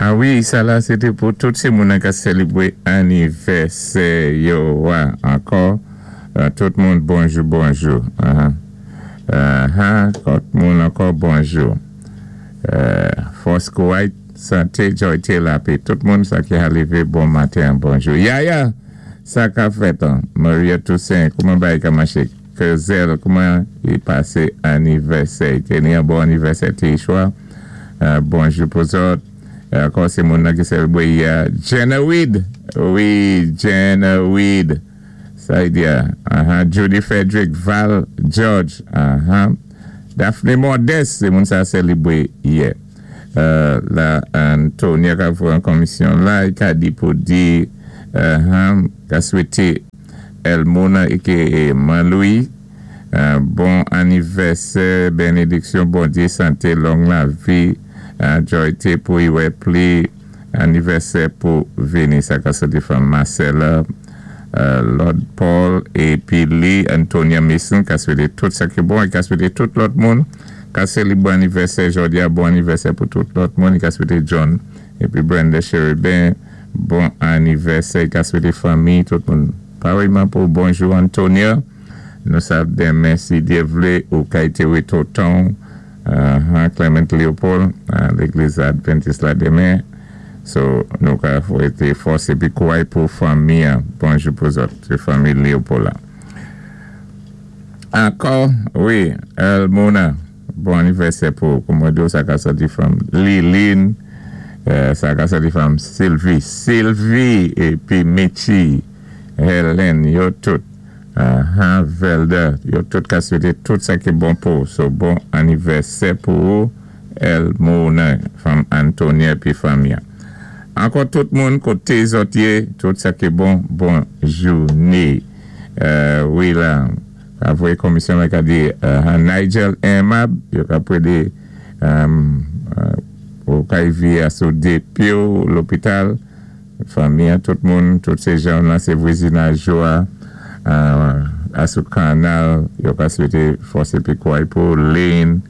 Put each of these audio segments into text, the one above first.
A wi, sa la sé té pou tout sé moun ka sélébwé anivèsè yo a. Ankò, tout moun bonjou bonjou. Tout moun ankò bonjou. Fòs kouway, santé, joyté, lapè. Tout moun sa ki a lévé bon maten, bonjou. Yaya, sa ka fèt an? Maria Toussaint, kouman bagay ka maché? Kezel, kouman i pasé anivèsè? I té ni yon bon anivèsè té chwa. Bonjou pou zòt. Ankò sé moun nan ki sélébwé yè. Jenna Weed. Wi, Jenna Weed. Sa i di a. Judy Frederick, Val George. Daphne Modeste, sé moun sa sélébwé yè. La Antonia ka voyé an komisyon la, i ka di pou di, ka swété Elmona éké Man Louis bon anivèsè, bénédiksyon Bondyé, santé, long lavi, joyté pou i wè pli anivèsè pou vini. Sa ka soti fanm Marcella, Lord Paul, épi li Antonia Mason ka swété tout sa ki bon, i ka swété tout lòt moun ka sélébwé anivèsè jòdi a, bon anivèsè pou tout lòt moun. I ka swété John épi Brenda Cherubin bon anivèsè, i ka swété fanmi tout moun. Parèyman pou bonjou Antonia, nou sav denmen si Dyé vlé ou ka étéwé tonton Clement Leopold légliz Adventis la denmen. So nou ka swété fòs épi kouway pou fanmi an. Bonjou pou zòt, sé fanmi Leopold la. Ankò, wi, Elmona, bon anivèsè pou kouman di sa ka sòti fanm Liline, sa ka sòti fanm Sylvie, Sylvie épi Mitchi, Helen, yo tout, Velda, yo tout ka swété tout sa ki bon pou. So bon anivèsè pou ou, Elmona, fanm Antonia épi fanmi an. Ankò tout moun koté zòt yé, tout sa ki bon, bon jouné. Wi la, ka voyé komisyon la ka di Nigel Aimable, yo ka prédé ou ka vi a sou dé pyé ou lopital, fanmi an, tout moun, tout sé jan nan sé vwazinaj yo a, a sou kanal, yo ka swété fòs épi kouway pou Lynn,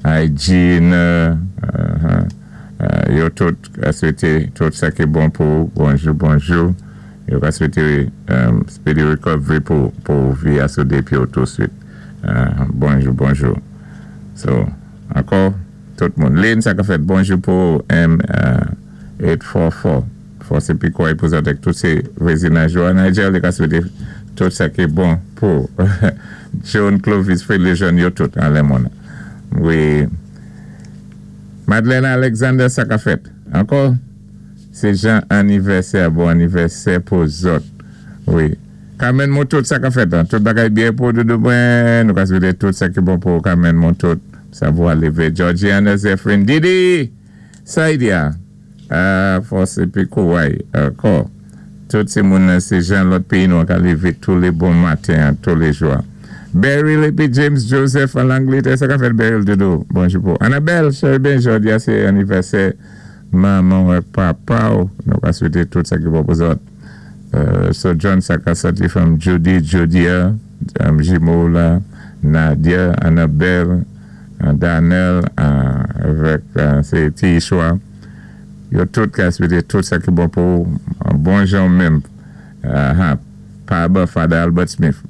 Hygiene, yo tout ka swété tout sa ki bon pou bonjou bonjou. Yo ka swété speedy recovery pou vi a sou dé pyé ou tousuit. Bonjou bonjou. So, ankò, tout moun. Lynn, sa ka fèt, bonjou pou M844. Fòs épi kouway pou zòt tout sé vwazinaj yo. Nigel, li ka swété tout sa ki bon pou John Clovis, Fred Lejeune, yo tout, an lè moun. Wi. Madeleine Alexander, sa ka fèt. Ankò, sé jan anivèsè, bon anivèsè pou zòt. Wi. Carmen Montot, sa ka fèt an? Tout bagay byen pou doudou mwen. Nou ka swété tout sa ki bon pou Carmen Montot. Sa pou alivé. Georgiana Zephyrin Didi! Sa i di a? Fòs épi kouway. Ankò. Tout sé moun nan sé jan lòt péyi nou ka lévé tou lé bon maten tou lé jou. Beryl épi James Joseph an Langlétè. Sa ka fèt Beryl doudou? Bonjou pou Annabelle, Cherubin, jòdi a sé anivèsè manman ou papa ou. Nou ka swété tout sa ki bon pou zòt. So John sa ka sòti fanm Judy, Judia, jimo la, Nadia, Annabelle, Daniel, avèk sé ti Ishwa. Yo tout ka swété tout sa ki bon pou bon jan menm. Pa Father Albert Smith.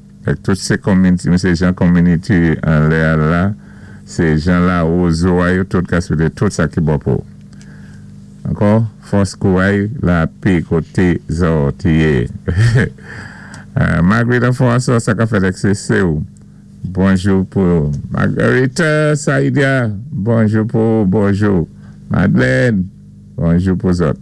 Tout sé community, sé jan community an lè a la, sé jan la wozo a yo tout ka swété tout sa ki bon pou. Ankò, fòs kouway lapè koté zòt yé. Marguerite François, sa ka fèt ak sé ou. Bonjou pou Marguerite Saïdia, bonjou pou bonjou. Madeleine, bonjou pou zòt.